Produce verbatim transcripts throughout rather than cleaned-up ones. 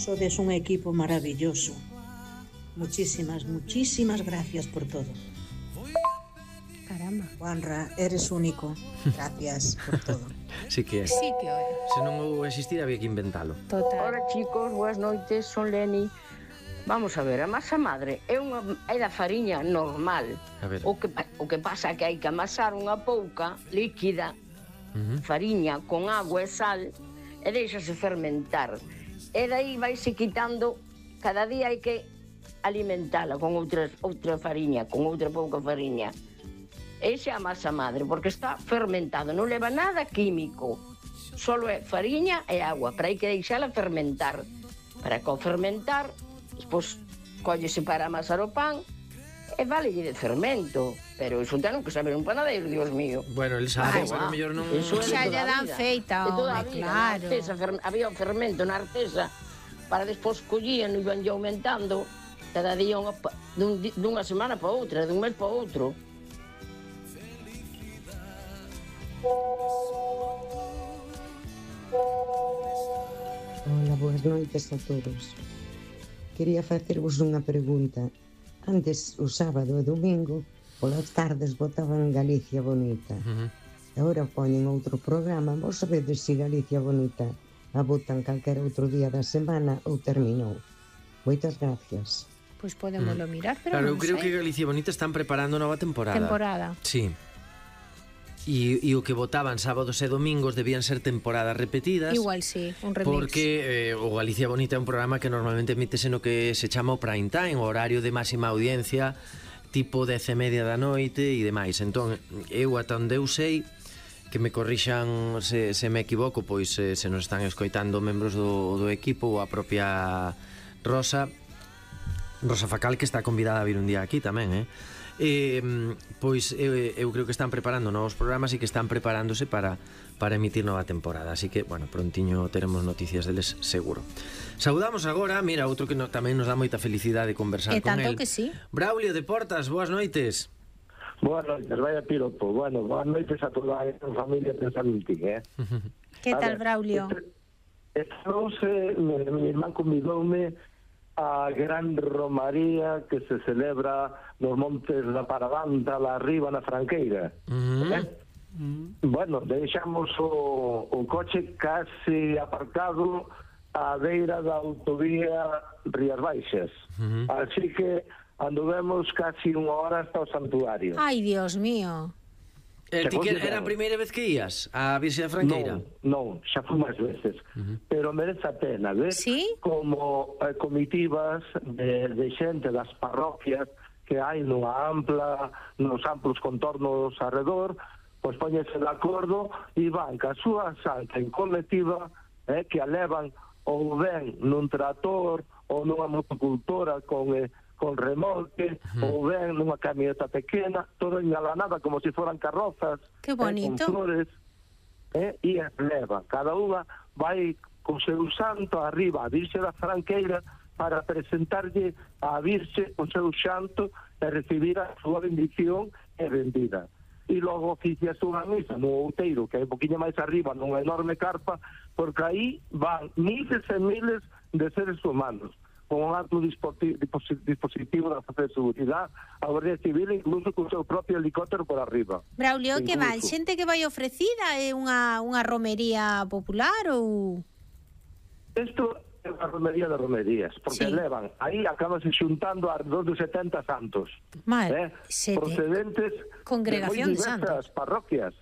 Sodes un equipo maravilloso. Muchísimas, muchísimas gracias por todo. Caramba. Juanra, eres único. Gracias por todo. Sí que é. Sí que é. Se non ou existir, había que inventalo. Total. Hola chicos, boas noites, son Leni. Vamos a ver, a masa madre é unha é da fariña normal. A ver. O que o que pasa é que hai que amasar unha pouca líquida, Uh-huh. fariña con agua e sal e deixase fermentar. E dai vaise quitando, cada día hai que alimentala con outra outra fariña, con outra pouca fariña. Esa é a masa madre, porque está fermentado, non leva nada químico. Solo é fariña e agua, pero hai que deixala fermentar. Para que ao fermentar, despois collese para amasar o pan e valelle de fermento. Pero iso ten que saber un panadeiro, Dios mío. Bueno, el sabe, Ai, bueno, va. mellor non... Eso é de Xa toda lle a dan vida. feita, De toda a home, vida, claro. na artesa, fer- había o fermento na artesa, para despois collían e iban aumentando cada día unha, pa- dun, di- dunha semana para outra, dun mes para outro. Hola, boas noites a todos. Quería facervos unha pregunta. Antes, o sábado e domingo, polas tardes botaban Galicia Bonita. Uh-huh. E agora poñen outro programa. Vos sabedes se Galicia Bonita a botan calquera outro día da semana ou terminou. Moitas gracias. Pois podémoslo mirar, pero Claro, eu non creo sei. que Galicia Bonita están preparando nova temporada. Temporada. Sí. E, e o que votaban sábados e domingos debían ser temporadas repetidas. Igual sí, un remix. Porque eh, o Galicia Bonita é un programa que normalmente emítese no que se chama o prime time, o horario de máxima audiencia, tipo dez e media da noite e demais. Entón, eu ata onde eu sei, que me corrixan se, se me equivoco, pois eh, se nos están escoitando membros do, do equipo ou a propia Rosa Rosa Facal, que está convidada a vir un día aquí tamén, eh? Eh, pois eu, eu creo que están preparando novos programas e que están preparándose para, para emitir nova temporada, así que, bueno, prontiño teremos noticias deles seguro. Saudamos agora, mira, outro que no, tamén nos dá moita felicidade conversar E con tanto el. que sí. Braulio de Portas, boas noites. Boas noites, vaya piropo. Bueno, boas noites a toda a familia de Santín, eh? Que A tal, ver, Braulio? Este, esta noche, mi, mi irmán convidoume a gran romaría que se celebra nos montes da Parabanda, lá arriba na Franqueira. Uh-huh. Eh? Bueno, deixamos o, o coche casi aparcado á beira da autovía Rías Baixas. Uh-huh. Así que anduvemos casi unha hora hasta o santuario. Ai, Dios mío. Eh, ti que considero. era a primeira vez que ías a Virxe da Franqueira? Non, non, xa fui máis veces. Uh-huh. Pero merece a pena ver ¿Sí? como eh, comitivas de, de xente das parroquias que hai nunha ampla, nos amplos contornos arredor, pois poñese de acordo e van ca súa santa en colectiva, eh, que a levan ou ben nun trator ou nunha motocultora con... Eh, con remolque, uh-huh. ou ben nunha camioneta pequena, todo engalanada como se foran carrozas, Que bonito. eh, con flores, eh, e as leva. Cada unha vai con seu santo arriba a Virxe da Franqueira para presentarlle a Virxe o seu xanto e recibir a súa bendición e bendida. E logo oficias unha misa no outeiro, que é un poquinho máis arriba, nunha enorme carpa, porque aí van miles e miles de seres humanos, con un alto dispositivo da Fuerza de Seguridade, a Guardia Civil, incluso con o seu propio helicóptero por arriba. Braulio, que Incluso. van? Xente que vai ofrecida? É unha, unha romería popular ou...? Isto é unha romería de romerías, porque Sí. levan, aí acabanse xuntando alrededor de setenta santos, Mal, eh, sete. procedentes Congregación de de moi diversas santos. parroquias.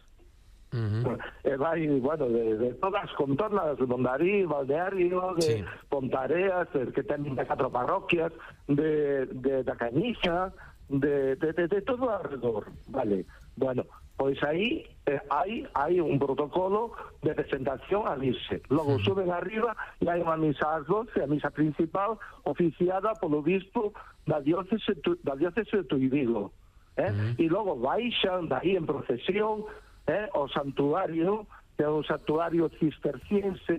Uh-huh. E vai, bueno, de, de todas as contornas, de Mondarí, Valdeario, Sí. de Pontareas, eh, que ten vinte e catro parroquias, de, de da Cañixa, de, de, de, de todo alrededor, vale. Bueno, pois aí eh, hai, hai un protocolo de presentación a Virxe. Logo Uh-huh. suben arriba e hai unha misa ás doce, a misa principal, oficiada polo bispo da diócese, da diócese de Tuibigo. Eh? Uh-huh. E logo baixan dai en procesión, eh, o santuario, que é un santuario cisterciense